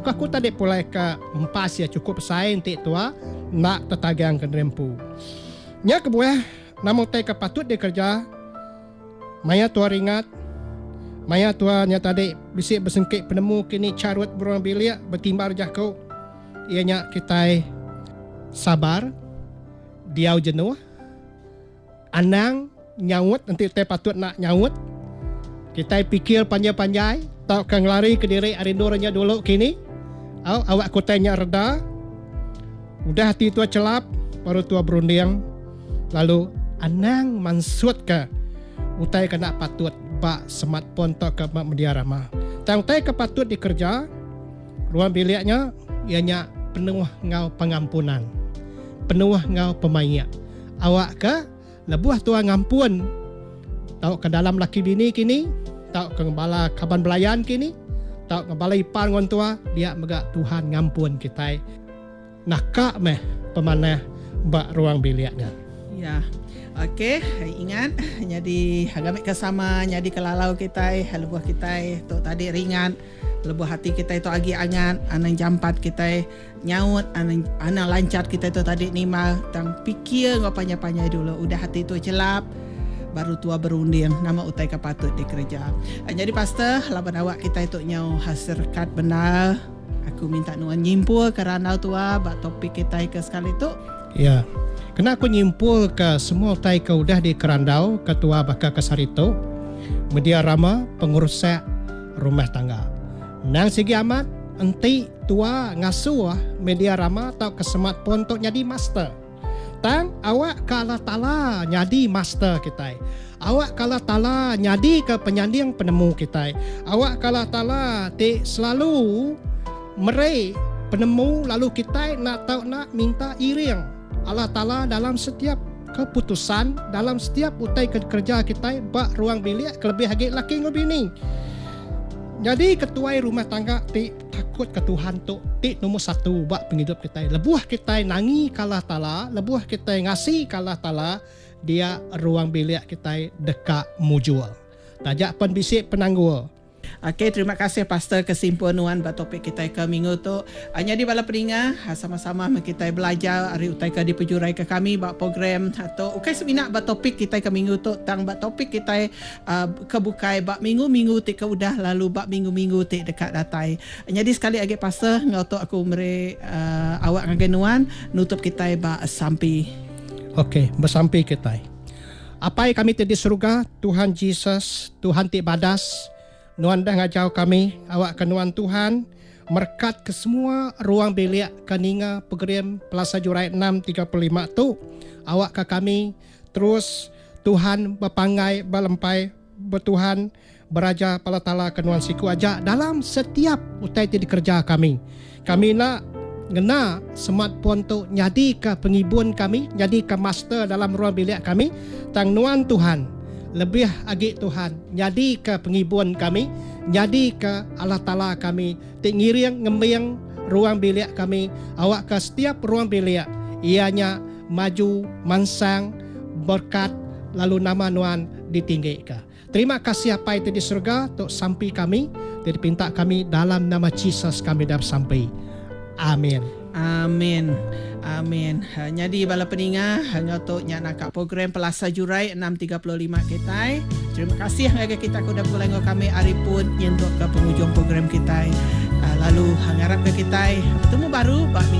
Ku aku tadi pulai ke empas iya chukup besai enti tua enda tetagang ke diri empu. Nya kebuah nama utai ke patut dikereja maya tua ringat, maya tua nya tadi bisi besengki penemu kini charut beruang bilik betimbar jaku iya nya kitai sabar, diau jenuh. Anang nyaut enti utai patut enda nyaut. Kitai pikir panjai-panjai tauka ngelarika diri ari endur nya dulu kini. Au awak ke utai nya reda. Udah ati tua chelap baru tua berunding lalu anang mansutka utai ke enda patut ba smartphone tauka ba media rama. Tang utai ke patut dikereja ruang bilik nya iya nya penuh enggau pengampunan, penuh enggau pemaik. Awakka lebuh tua ngampun tauka dalam laki bini kini, tauka bala kaban belayan kini, tauka bala ipar enggau entua, dia mega Tuhan ngampun kitai. Naka meh pemanah ba ruang bilik nya. Ya. Okey, ingat nyadi ngambika sama nyadi kelalau kitai lebuh kitai tu tadi ringat. Lebuh ati kitai tu agi angat, anang jampat kitai nyaut, anang anang lanchat kitai tu tadi nimbal tang pikir enggau panjai-panjai dulu. Udah ati tu chelap, baru tua berunding nama utai ke patut dikereja. Nyadi pastor, laban awak kitai tu nyau serekat bendar, aku minta nuan nyimpulka randau tua ba topik kitai ke sekali tu. Ya. Kena aku nyimpulka semua utai ke udah dikerandau ke tua baka ke sehari tu, media rama pengerusak rumah tangga. Endang sigi amat enti tua ngasuh media rama tauka smartphone tu nyadi master. Tang awak ke Allah Taala nyadi master kitai. Awak ke Allah Taala nyadika penyanding penemu kitai. Awak ke Allah Taala ti selalu meri penemu lalu kitai enda tau enda minta iring Allah Taala dalam setiap keputusan, dalam setiap utai ke dikereja kitai ba ruang bilik kelebih agi laki enggau bini. Nyadi ketuai rumah tangga ti takut ke Tuhan tu ti nombor satu ba pengidup kitai. Lebuh kitai nangi ke Allah Taala, lebuh kitai ngasi ke Allah Taala, dia ruang bilik kitai deka mujur. Taja pen bisi penanggul. Ok terima kasih pastor ke simpul nuan ba topik kitai ke minggu tu. Nyadi bala peninga sama-sama meh kitai belajar ari utai ke dipejurai ke kami ba program tu. Ukai semina ba topik kitai ke minggu tu tang ba topik kitai ke bukai ba minggu-minggu ti ke udah lalu ba minggu-minggu ti deka datai. Nyadi sekali agi pastor enggau tu aku meri awak ngagai nuan nutup kitai ba sampi. Ok besampi kitai. Apai kami ti di seruga, Tuhan Jesus, Tuhan ti badas, Nuan dah ngajau kami, awakka Nuan Tuhan merekat ke semua ruang bilik ke ninga pegerim Pelasa Jurai 6:35 tu, awakka kami terus Tuhan bepanggai belempai betuhan beraja pala tala ke Nuan siku aja dalam setiap utai ti dikereja kami. Kami enda ngena smartphone tu nyadika pengibun kami, nyadika master dalam ruang bilik kami, tang Nuan Tuhan, lebih agi Tuhan, nyadika pengibun kami, nyadika Allah Taala kami ti ngiring ngembing ruang bilik kami awakka setiap ruang bilik iya nya maju mansang berkat lalu nama Nuan ditinggika. Terima kasih Apai ti di serega tu sampi kami ti dipinta kami dalam nama Jesus kami dah besampi. Amin. Amin. Amin. Nyadi bala peninga enggau tu nya naka program Pelasa Jurai 6:35 kitai. Terima kasih ngagai kita ke udah begulai enggau kami ari pun nyentuk ke pengujung program kitai. Lalu ngarapka kitai betemu baru ba minggu.